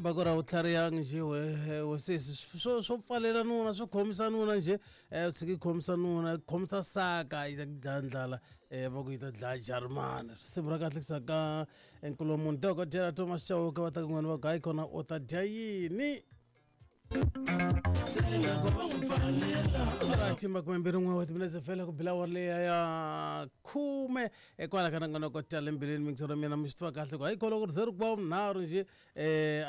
Va ku ra u tlharihangi njhe we sesi swo pfalela nuna swo khomisa nuna njhe u tshiki khomisa nuna khomisa saka yi ta ku dlaya ndlala va ku yi ta dlaya jarimani risimu ra kahle kusa ka nkulomuni dokodela Thomas Chauke va ta kun'wana va ku hayi kona u ta dya yini. Right, 21 wa timinetse fela ku bila awara leya ya khume ekwala ka nongonoko tala embilwini mingisoro mina mi swi tiva kahle ku hayi kholo ku ri ze ri ku va vunharhu nje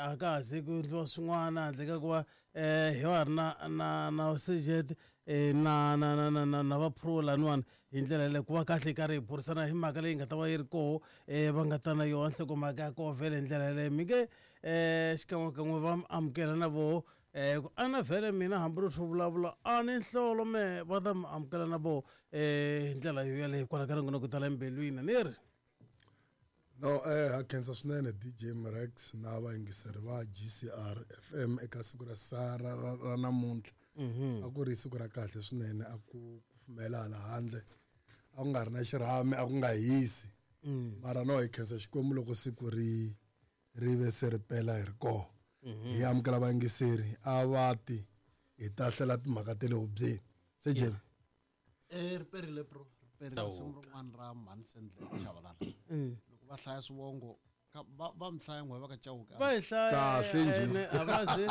a ka ha ze ku endliwa swin'wana handle ka ku va hi va ri na na na sejet na na na na na na va pro laniwani hi ndlela yaleyo ku va kahle hi karhi hi burisana hi mhaka leyi nga ta va yi ri koho va nga ta na yona nhlokomhaka ya koho vhele hi ndlela yaleyo mi nge xikan'wekan'we va amukela na voho ku ana vhele mina hambi ri swo vulavula a ni nhlolo me va ta mi amukela na voho hi ndlela yo yaleyo kwala ka ringona ku tala embilwini ni ri. No ha khensa swinene DJ Mrex na vayingiseri va GCR FM eka siku ra sa ra ra, ra namuntlha a ku ri siku ra kahle swinene a ku kufumela hala handle a ku nga ri na xirhami a ku nga hisi mara no hi khensa Xikwembu loko siku ri ri ve se ri pela hi ri koho hi amukela vayingiseri a va ti hi ta hlela timhaka ta le hubyeni se jeni Ri perile bro ri perile risimu rin'wana ra mhani Sendlele Chavalala loko va hlaya swivongo va mi hlaya n'we va ka Chauke va hi hlaya Kahle njhe. Ene a va ze